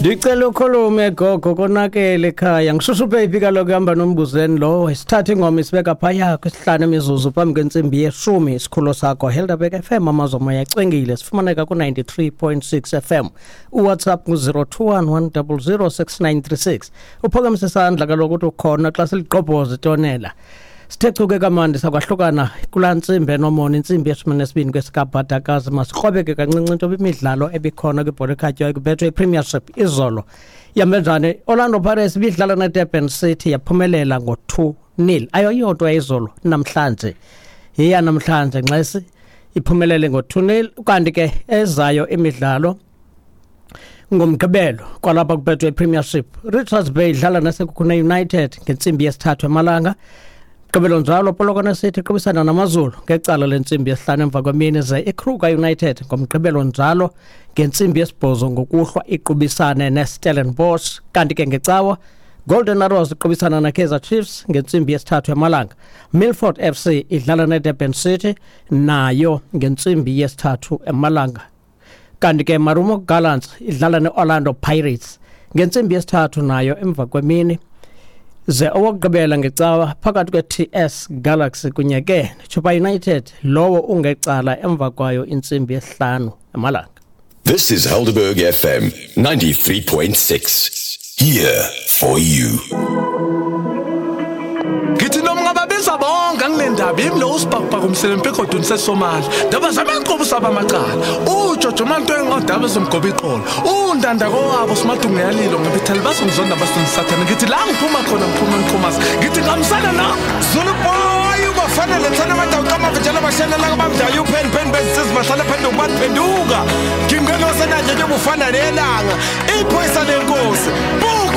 Ndicela ukhulume gogo, konakele ekhaya. Ngishushu baby kaloku hamba nombuzeni lo. Sithatha ingoma isibeka phaya kwisihlanu imizuzu phambi kwentsimbi yeshumi. Isikhululo sakho Helderberg FM, amazomoya acwengile. Sifumaneka ku-93.6 FM. UWhatsApp ngu-021 100 6936. Uphakamise isandla kaloku uthi ukhona xa siligqobhoza itonela. Sithe chuke kamandi sakwahlukana kulaa ntsimbi enomona, intsimbi yeshumi nesibini kwesikabhadakazi. Masikrobeke kancinci into imidlalo ebikhona kwibhola ekhatywayo kubethwe iPremiership izolo. Ihambe njani? Orlando Pirates ibidlala neDurban City, yaphumelela ngo-2-0. Ayoyodwa izolo, namhlanje yiya namhlanje nxesi iphumelele ngo-2-0. Kanti ke ezayo imidlalo ngoMgqibelo kwalapha kubethwe iPremiership, Richards Bay idlala neSekhukhune United ngentsimbi yesithathu emalanga. Gqibelo njalo, Polokwane City iqubisana naMaZulu ngecala lentsimbi yesihlanu emva kwemini, ze iKruger United ngoMgqibelo njalo ngentsimbi yesibhozo ngokuhlwa iqubisane neStellenbosch. Kanti ke ngecawa, Golden Arrows iqubisana neKaizer Chiefs ngentsimbi yesithathu emalanga. Milford FC idlala neDurban City nayo ngentsimbi yesithathu emalanga. Kanti ke Marumo Gallants idlala ne-Orlando Pirates ngentsimbi yesithathu nayo emva kwemini. Ze owokugqibela ngecawa phakathi kwe-TS Galaxy kunye ke neChippa United, lowo ungecala emva kwayo intsimbi yesihlanu emalanga. This is Helderberg FM 93.6. Here for you. Ngithi noma ungababiza bonke angilendaba, yimi lo usibhakubhaka umselempi egoduni seSomali. Ndaba zamaqobo saba amacala. Ujojo manto engodaba ezomgoba iqolo. Undanda kowabo simadungu yalilo ngibithela bazongizonda basingisathana. Ngithi la ngiphuma khona ngiphuma ngiqhumaza. Ngithi ngamsana na Zulu boy ubafana lethana amadawu kamavejana bashelela kabamdayo uphen pen besizi bahlala phenduka baphenduka. Ngingeno senanje nje bufana nelanga. Ipho